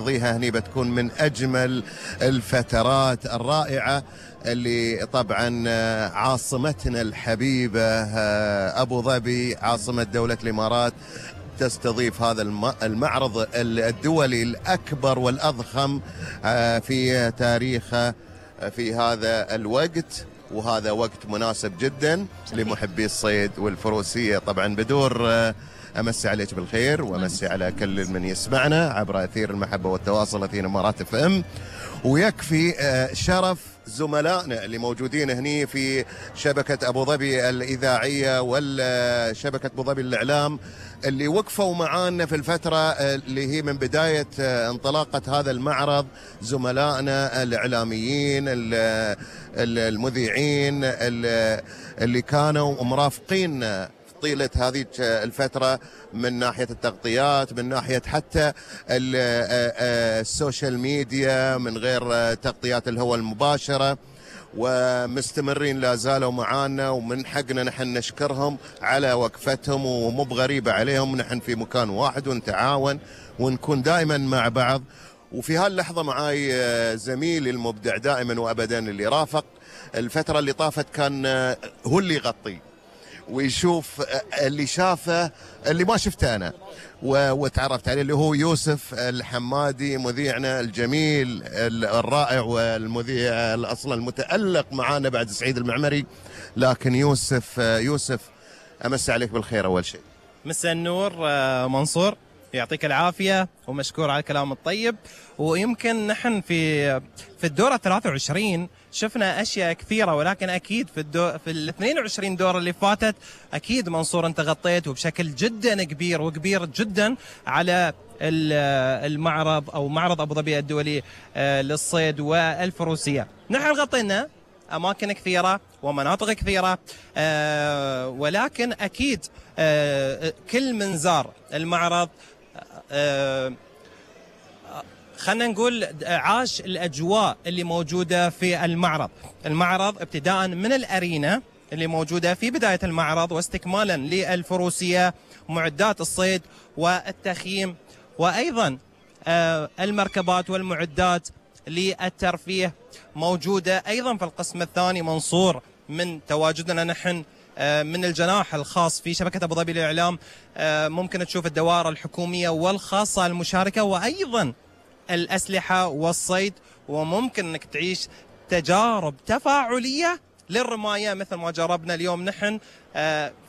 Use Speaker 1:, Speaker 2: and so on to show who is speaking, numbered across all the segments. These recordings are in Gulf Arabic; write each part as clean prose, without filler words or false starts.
Speaker 1: نقضيها هني بتكون من أجمل الفترات الرائعة اللي طبعا عاصمتنا الحبيبة أبو ظبي عاصمة دولة الإمارات تستضيف هذا المعرض الدولي الأكبر والأضخم في تاريخها في هذا الوقت، وهذا وقت مناسب جدا لمحبي الصيد والفروسية. طبعا بدور أمسي عليك بالخير وأمسي على كل من يسمعنا عبر أثير المحبة والتواصل أثير إمارات اف ام، ويكفي شرف زملائنا اللي موجودين هني في شبكة أبو ظبي الإذاعية والشبكة أبو ظبي الإعلام اللي وقفوا معانا في الفترة اللي هي من بداية انطلاقة هذا المعرض. زملائنا الإعلاميين المذيعين اللي كانوا مرافقين طيلة هذه الفترة من ناحية التغطيات، من ناحية حتى السوشيال ميديا، من غير تغطيات الهواء المباشرة، ومستمرين لا زالوا معانا، ومن حقنا نحن نشكرهم على وقفتهم، ومو بغريبة عليهم. نحن في مكان واحد ونتعاون ونكون دائما مع بعض. وفي هاللحظة معاي زميلي المبدع دائما وأبدا اللي رافق الفترة اللي طافت، كان هو اللي يغطي ويشوف اللي شافه اللي ما شفته أنا وتعرفت عليه، اللي هو يوسف الحمادي مذيعنا الجميل الرائع والمذيع أصلا المتألق معانا بعد سعيد المعمري. لكن يوسف أمسي عليك بالخير. أول شيء
Speaker 2: مساء النور منصور، يعطيك العافية ومشكور على الكلام الطيب. ويمكن نحن في الدورة 23 شفنا أشياء كثيرة، ولكن أكيد في ال 22 دورة اللي فاتت أكيد منصور أنت غطيت وبشكل جدا كبير وكبير جدا على المعرض أو معرض أبو ظبي الدولي للصيد والفروسية. نحن غطينا أماكن كثيرة ومناطق كثيرة، ولكن أكيد كل من زار المعرض خلنا نقول عاش الأجواء اللي موجودة في المعرض ابتداء من الأرينا اللي موجودة في بداية المعرض، واستكمالا للفروسية، معدات الصيد والتخييم، وأيضا المركبات والمعدات للترفيه موجودة أيضا في القسم الثاني. منصور من تواجدنا نحن من الجناح الخاص في شبكة أبو ظبي للإعلام ممكن تشوف الدوائر الحكومية والخاصة المشاركة، وأيضا الأسلحة والصيد، وممكن أنك تعيش تجارب تفاعلية للرماية مثل ما جربنا اليوم نحن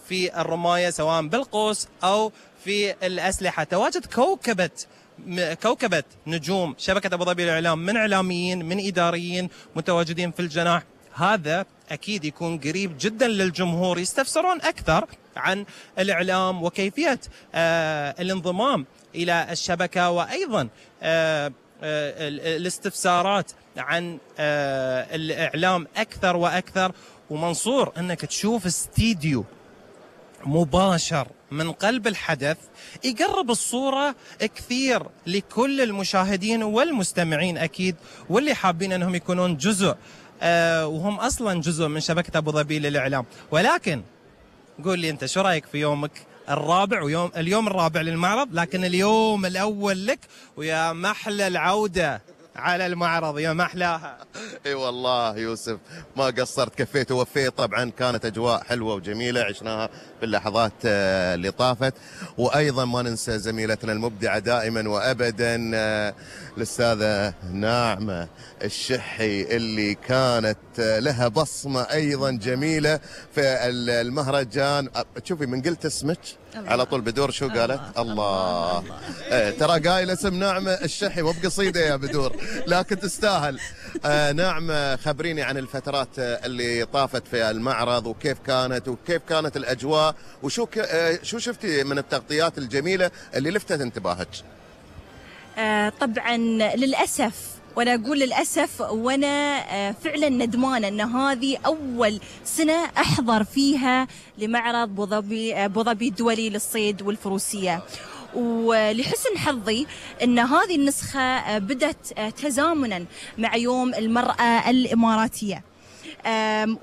Speaker 2: في الرماية سواء بالقوس أو في الأسلحة. تواجد كوكبة نجوم شبكة أبو ظبي للإعلام من إعلاميين من إداريين متواجدين في الجناح. هذا أكيد يكون قريب جدا للجمهور، يستفسرون أكثر عن الإعلام وكيفية الانضمام إلى الشبكة، وأيضا الاستفسارات عن الإعلام أكثر وأكثر. ومنصور أنك تشوف استديو مباشر من قلب الحدث يقرب الصورة كثير لكل المشاهدين والمستمعين أكيد، واللي حابين أنهم يكونون جزء وهم أصلا جزء من شبكة أبو ظبي للإعلام. ولكن قول لي أنت شو رأيك في يومك الرابع اليوم الرابع للمعرض، لكن اليوم الأول لك، ويا محلى العودة على المعرض يا محلاها.
Speaker 1: اي والله يوسف ما قصرت، كفيت ووفيت. طبعا كانت اجواء حلوه وجميله عشناها في اللحظات اللي طافت. وايضا ما ننسى زميلتنا المبدعه دائما وابدا الاستاذه ناعمه الشحي اللي كانت لها بصمه ايضا جميله في المهرجان. تشوفي من قلت اسمك على طول بدور شو قالت؟ الله. ترى قايله اسم ناعمه الشحي وبقصيده يا بدور، لكن تستاهل. ناعمه خبريني عن الفترات اللي طافت في المعرض وكيف كانت الاجواء، وشو شو شفتي من التغطيات الجميله اللي لفتت انتباهك؟
Speaker 3: طبعا للاسف، وانا اقول للاسف وانا فعلا ندمانه ان هذه اول سنه احضر فيها لمعرض ابو ظبي الدولي للصيد والفروسيه. ولحسن حظي ان هذه النسخه بدت تزامنا مع يوم المراه الاماراتيه.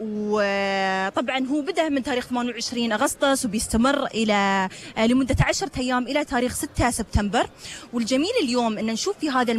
Speaker 3: وطبعا هو بدأ من تاريخ 28 أغسطس وبيستمر إلى لمدة 10 أيام إلى تاريخ 6 سبتمبر. والجميل اليوم أن نشوف في هذا